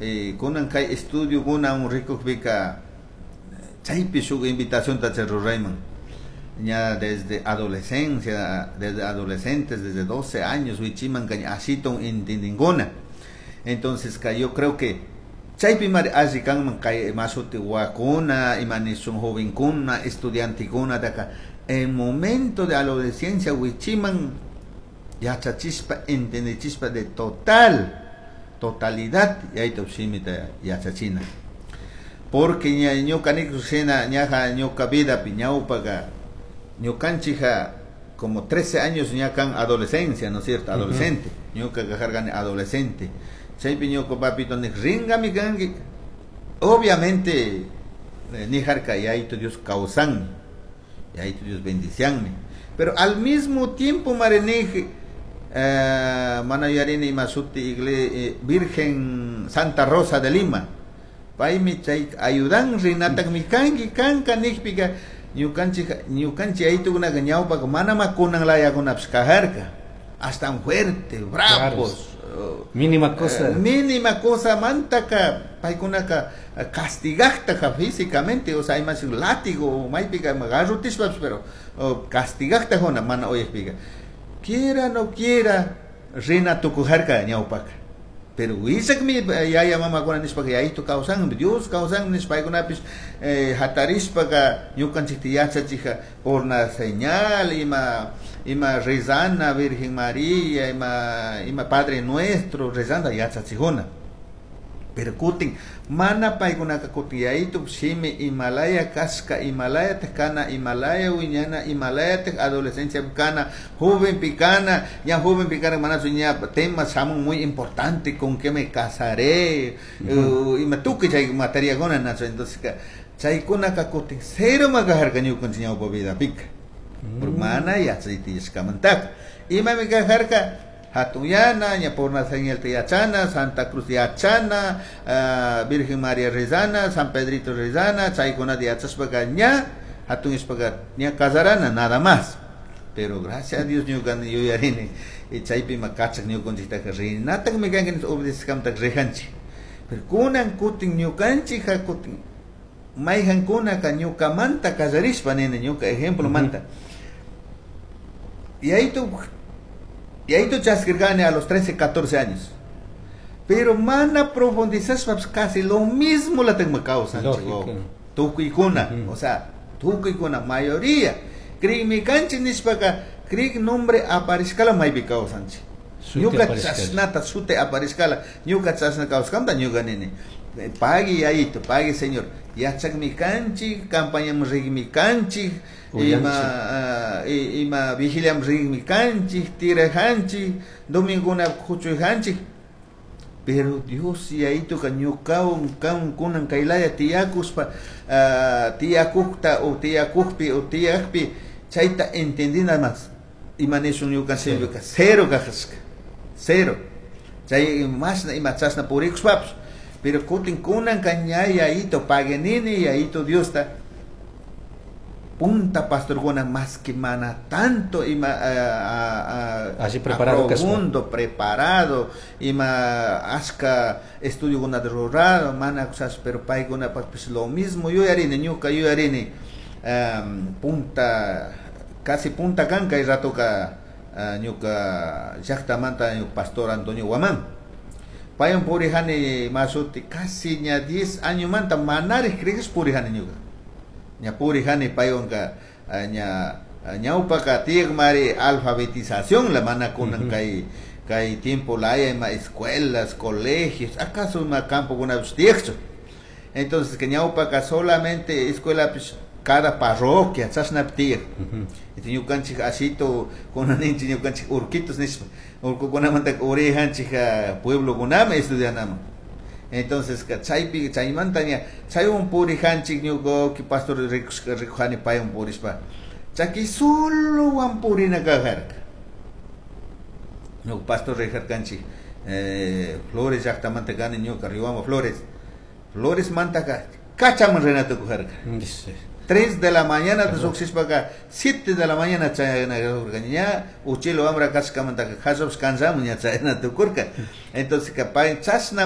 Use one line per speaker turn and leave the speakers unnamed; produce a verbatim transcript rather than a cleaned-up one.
eh, kunan kay estudiokuna rikukpika chaypi shuk invitacionta chay rurayman ña desde adolescencia, desde adolescentes, desde doce años wichiman kañ ashiton entendinkuna. Entonces ka yo creo que chaypi mari alli kanman kay mashuti wakuna, ima nishun jovenkuna, estudiantekunataka en momento de adolescencia wichiman yachachispa entendichispa de total totalidad yayta shimita yachachina, porque ña ñuka nikushina ñaja ñuka vidapi ñawpaka ñukanchija como trece años ña kan adolescencia, ¿no es cierto? Adolescente. Ñuka kajarkani adolescente, chaypi ñuka papito nik ringami kanki. Obviamente eh, nijarka yayito Dios kawsanmi, yayito Dios bendicianmi, pero al mismo tiempo marenij eh, mana yuyarini ima shuti igle eh, Virgen Santa Rosa de Lima paymi chay ayudan rinatakmi kanki kanka nikpika ñukanchik ñukanchik yayitukunaka ñawpaka mana kunan layakunapish kajarka hasta fuerte, bravos.
Claro. Mínima cosa.
Eh, mínima cosa mantaka paykunaka castigajtaka físicamente, o sea, hay más látigo, maypika garrutishpapish, pero oh, castigajta mana uyakpika. Quiera no quiera, rina tukujarka ñawpaka. Pero willakmi yaya mamakuna nishpaka yayito kawsanmi, Dios kawsanmi nishpa paykunapish eh, hatarishpaka ñukanchikta yachachija por una señal, ima ima rezana Virgen María, ima ima Padre Nuestro rezanda yachachijuna. Pero kutin mana paykunaka kutin yayito shimi imalaya kashka, imalaya kana, imalaya wiñana, imalaya adolescencia kana, joven picana, ya joven picana manachu ña temas shamun muy importante, con qué me casaré, uh -huh. uh, ima tukuy chay materiakuna nachu. Entonces chaykunaka kutin cero makajarka ñukanchik ñawpa vidapika mm. Mana yachaytiyashkamantaka imami kajarka hatunyana, ña por una señal yachana, Santa Cruz yachana, uh, Virgen María rezana, San Pedrito rezana, chaykunata yachashpaka ña hatunyashpaka ña casarana, nada más. Pero gracias a Dios ñuka yuyarini y chaypi ma kachak ñukanchiktaka rinatakmi kanki obedecishkamantaka rijanchik. Pero kunan kutin ñukanchik kutin mayjankunaka ñukamanta kallarishpa nini ñuka ejemplo manta. Y ahí tu y ahí tu chaskirkani a los trece, catorce años. Pero mana profundizashpa casi lo mismo la tengo causa. Tukuykuna, uh -huh. O sea, tukuykuna, mayoría. Crigmi kanchik nishpaka, crig nombre aparishkala maypi kawsanchik. Ñuka chashnata shuti aparishkala, ñuka chashna kawskamanta ñuka nini. Pagui yayito, pagui Señor. Yachakmi kanchik, campañaman rigmi kanchik, ima uh, ima vigiliam rigmi kanchik, tirajanchik, dominguna kuchuyjanchik. Pero Dios yayituka ñukawan kan kunan kaylaya tiyakuspa uh, tiyakukta o tiyakukpi o tiyakpi chayta entendina más. Ima nishun ñuka sirvika cero kajashka, cero. Chay mashna ima chashna purikushpapish. Pero kutin kunan ña yayito paguenini yayito Diosta punta pastorkuna más que mana tanto ima uh,
uh, Así preparado
profundo preparado ima ashka estudio de rurado mana cosas, pero paykuna pues lo mismo yuyarini ñuka yuyarini um, punta casi punta kanka y ratoka uh, ñuka llaktamanta ñuka pastor Antonio Guamán paywan purijani mashuti casi ña diez años manta manarij crees purijani ñuka ña purijani paywanka ña ñawpaka tiyakmari alfabetización la mana kunan kay kay tiempo laya ima escuelas, colegios, acaso ima campo kunapish tiyakchu. Entonces que ñawpaka solamente escuela pues, cada parroquia chashnapi tiyak. Ñukanchik ashito kunaninchik ñukanchik urquitos nishpa urkukunamanta urijanchik pueblokunami estudianaman. Entonces chaypi chaymanta ña chaywan purijanchik ñuka pastor rikujani paywan purishpa chaki solo purina kajarka. Ñuka pastor rijarkanchik eh, Flores llaktamanta kani ñuka Riobamba Flores Flores mantaka kachaman rina tukujarka. tres de la mañana lluqshishpaka siete de la mañana chayana tukurka ña uchilo wambra kashkamantaka kashapish kansamun ña chayana tukurka. Entonces pay chashna